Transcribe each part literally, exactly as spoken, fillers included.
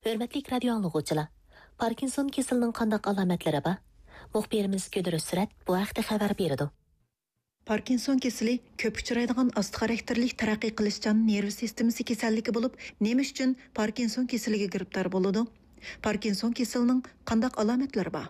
ھۆرمەتلىك رادىيو ئاڭلىغۇچىلار، پاركىنسون كېسىلىنىڭ قانداق ئالامەتلىرى بار؟ مۇخبىرىمىز گۈلرۈز سۈرەت بۇ ھەقتە خەۋەر بېرىدۇ. پاركىنسون كېسىلى كۆپ ئۇچرايدىغان ئاستا خاراكتېرلىك تەرەققىي قىلىشچان نېرۋا سىستېمىسى كېسەللىكى بولۇپ، نېمە ئۈچۈن پاركىنسون كېسىلىگە گىرىپتار بولىدۇ؟ پاركىنسون كېسىلىنىڭ قانداق ئالامەتلىرى بار؟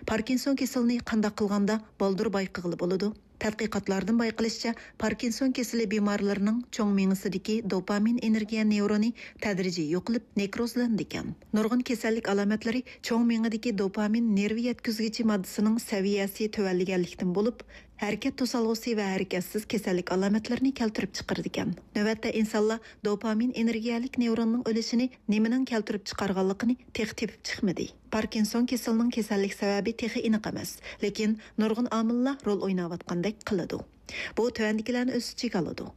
پاركىنسون كېسىلىنى قانداق قىلغاندا بالدۇر بايقىغىلى بولىدۇ؟ تەتقىقاتلاردىن بايقىلىشىچە، پاركىنسون كېسىلى بىمارلىرىنىڭ چوڭ مېڭىسىدىكى دوپامىن ئېنېرگىيە نېۋرونى تەدرىجىي يوقىلىپ، نېكروزلىنىدىكەن. نۇرغۇن كېسەللىك ئالامەتلىرى چوڭ مېڭىدىكى دوپامىن نېرۋا يەتكۈزگۈچى ماددىسىنىڭ سەۋىيەسى تۆۋەنلىگەنلىكتىن بولۇپ، ھەرىكەت توسالغۇسى ۋە ھەرىكەتسىز كېسەللىك ئالامەتلىرىنى كەلتۈرۈپ چىقىرىدىكەن. نۆۋەتتە ئىنسانلار دوپامىن ئېنېرگىيەلىك نېۋروننىڭ ئۆلۈشىنى نېمىنىڭ كەلتۈرۈپ چىقارغانلىقىنى تېخى تېپىپ چىقمىدى. پاركىنسون كېسىلىنىڭ كېسەللىك سەۋەبى تېخى ئېنىق ئەمەس، لېكىن نۇرغۇن ئامىللار رول ئويناۋاتقاندەك قىلىدۇ. بۇ تۆۋەندىكىلەرنى ئۆز ئىچىگە ئالىدۇ.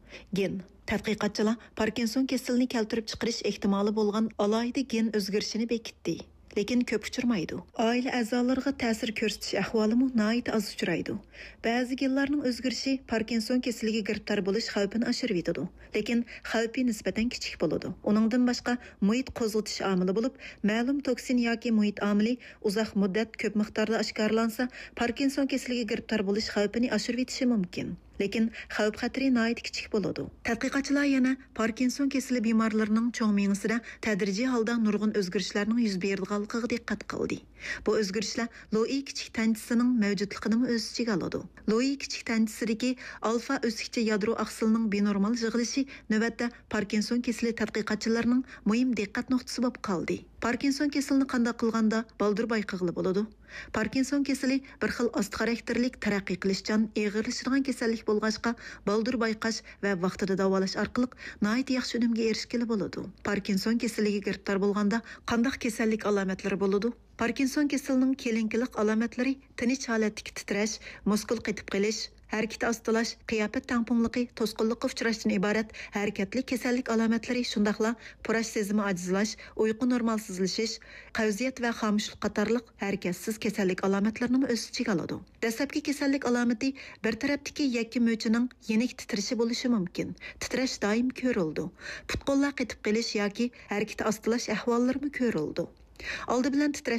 گېن. تەتقىقاتچىلار پاركىنسون كېسىلىنى كەلتۈرۈپ چىقىرىش ئېھتىمالى بولغان ئالاھىدە گېن ئۆزگىرىشىنى بېكىتتى. لېكىن كۆپ ئۇچرىمايدۇ. ئائىلە ئەزالىرىغا تەسىر كۆرسىتىش ئەھۋالىمۇ ناھايىتى ئاز ئۇچرايدۇ. بەزى گېنلارنىڭ ئۆزگىرىشى پاركىنسون كېسىلىگە گىرىپتار بولۇش خەۋپىنى ئاشۇرۇۋېتىدۇ. لېكىن خەۋپى نىسبەتەن كىچىك بولىدۇ. ئۇنىڭدىن باشقا مۇھىت قوزغىتىش ئامىلى بولۇپ، مەلۇم توكسىن ياكى مۇھىت ئامىلى ئۇزاق مۇددەت كۆپ مىقداردا ئاشكارىلانسا، پاركىنسون كېسىلىگە گىرىپتار بولۇش خەۋپىنى ئاشۇرۇۋېتىشى مۇمكىن. لېكىن خەۋپ خەتىرى ناھايىتى كىچىك بولىدۇ. تەتقىقاتچىلار يەنە پاركىنسون كېسىلى بىمارلىرىنىڭ چوڭ مېڭىسىدە تەدرىجىي ھالدا نۇرغۇن ئۆزگىرىشلەرنىڭ يۈز بېرىدىغانلىقىغا دىققەت قىلدى. بۇ ئۆزگىرىشلەر لوئى كىچىك تەنچىسىنىڭ مەۋجۇتلۇقىنىمۇ ئۆز ئىچىگە ئالىدۇ. لوئى كىچىك تەنچىسىدىكى ئالفا ئۆسۈكچە يادرو ئاقسىلىنىڭ بىنورمال يىغىلىشى نۆۋەتتە پاركىنسون كېسىلى تەتقىقاتچىلىرىنىڭ مۇھىم دىققەت نۇقتىسى بولۇپ قالدى. پاركىنسون كېسىلىنى قانداق قىلغاندا بالدۇر بايقىغىلى بولىدۇ؟ پاركىنسون كېسىلى بىر خىل ئاستا خاراكتېرلىك، تەرەققىي قىلىشچان، ئېغىرلىشىدىغان كېسەللىك بولغاچقا، بالدۇر بايقاش ۋە ۋاقتىدا داۋالاش ئارقىلىق ناھايىتى ياخشى ئۈنۈمگە ئېرىشكىلى بولىدۇ. پاركىنسون كېسىلىگە گىرىپتار بولغاندا قانداق كېسەللىك ئالامەتلىرى بولىدۇ؟ پاركىنسون كېسىلىنىڭ كېلىنكىلىق ئالامەتلىرى تىنچ ھالەتتىكى تىترەش، مۇسكۇل قېتىپ قېلىش، ھەرىكىتى ئاستىلاش، قىياپەت تەڭپۇڭلۇقى، توسقۇنلۇققا ئۇچراشتىن ئىبارەت ھەرىكەتلىك كېسەللىك ئالامەتلىرى، شۇنداقلا پۇراش سېزىمى ئاجىزلاش، ئۇيقۇ نورمالسىزلىشىش، قەۋزىيەت ۋە خامۇشلۇق قاتارلىق ھەرىكەتسىز كېسەللىك ئالامەتلىرىنىمۇ ئۆز ئىچىگە ئالىدۇ. دەسلەپكى كېسەللىك ئالامىتى بىر تەرەپتىكى يەككە مۆچىنىڭ يېنىك تىترىشى بولۇشى مۇمكىن. تىترەش دائىم كۆرۈلىدۇ. پۇت-قوللار قېتىپ قېلىش ياكى ھەرىكىتى ئاستىلاش ئەھۋاللىرىمۇ كۆرۈلىدۇ. ئالدى بىلەن تىترەش